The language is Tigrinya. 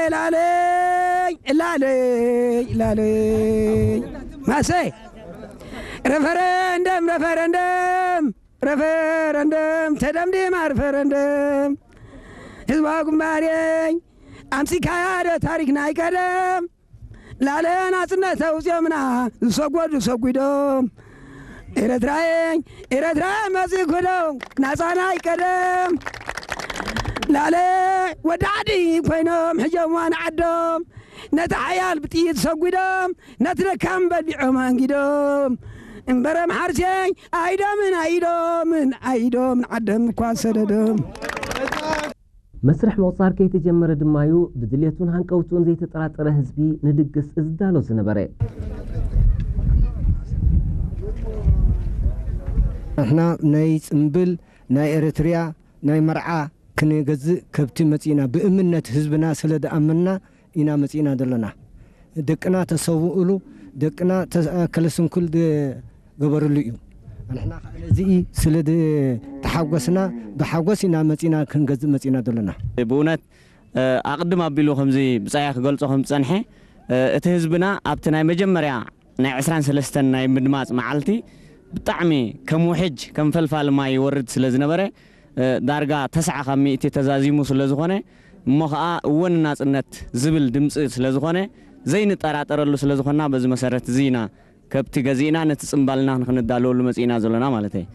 እላለይ እላለይ እላለይ ማሰይ ረፈረንደም ረፈረንደም ረፈረንደም ተደምዲማ ረፈረንደም ህዝባዊ ግንባረይ ኣምሲካያ ዶ ታሪክ ናይ ቀደም ላለ ናጽነት ኣውጽኦምና ዝሰጎዱ ሰጒዶም ኤረትራየኝ ኤረትራ መጺእኩዶ ናጻናይ ቀደም ላለ ወዲ ዓዲ ኮይኖም ሕጀምዋ ንዓዶም ነቲ ሓያል ብጥይት ሰጒዶም ነቲ ደካም በሊዖም ኣንጊዶም እምበረ መሓርሴ ኣይዶምን ኣይዶምን ኣይዶምን ዓደም እኳ ሰደዶም መስርሕ ምቑጻር ከይተጀመረ ድማዩ ብድልየቱን ሃንቀውትኡን ዘይተጠራጠረ ህዝቢ ንድግስ ዝዳሎ ዝነበረ። ንሕና ናይ ጽምብል ናይ ኤርትርያ ናይ መርዓ ክንገዝእ ከብቲ መጺእና ብእምነት ህዝብና ስለ ዝኣመንና ኢና መጺእና ዘለና። ደቅና ተሰውእሉ ደቅና ከለስንኩል ገበርሉ እዩ። ንሕና ከዓ ነዚ ስለ ተሓጎስና ብሓጎስ ኢና መጺና ክንገዝእ መጺና ዘለና። ብእውነት ኣቕድም ኣቢሉ ከምዚ ብጻያ ክገልጾ ከም ዝጸንሐ እቲ ህዝብና ኣብቲ ናይ መጀመርያ ናይ ዕስራን ሰለስተን ናይ ምድማጽ መዓልቲ ብጣዕሚ ከም ውሕጅ ከም ፈልፋሊ ማይ ይወርድ ስለ ዝነበረ ዳርጋ ተስዓ ካብ ሚእቲ ተዛዚሙ ስለ ዝኾነ እሞ ኸዓ እወ ንናጽነት ዝብል ድምፂ ስለ ዝኾነ ዘይንጠራጠረሉ ስለ ዝኾንና በዚ መሰረት እዚ ኢና ከብቲ ገዚእና ነቲ ፅምባልና ንክንዳለወሉ መፂእና ዘሎና ማለት እየ።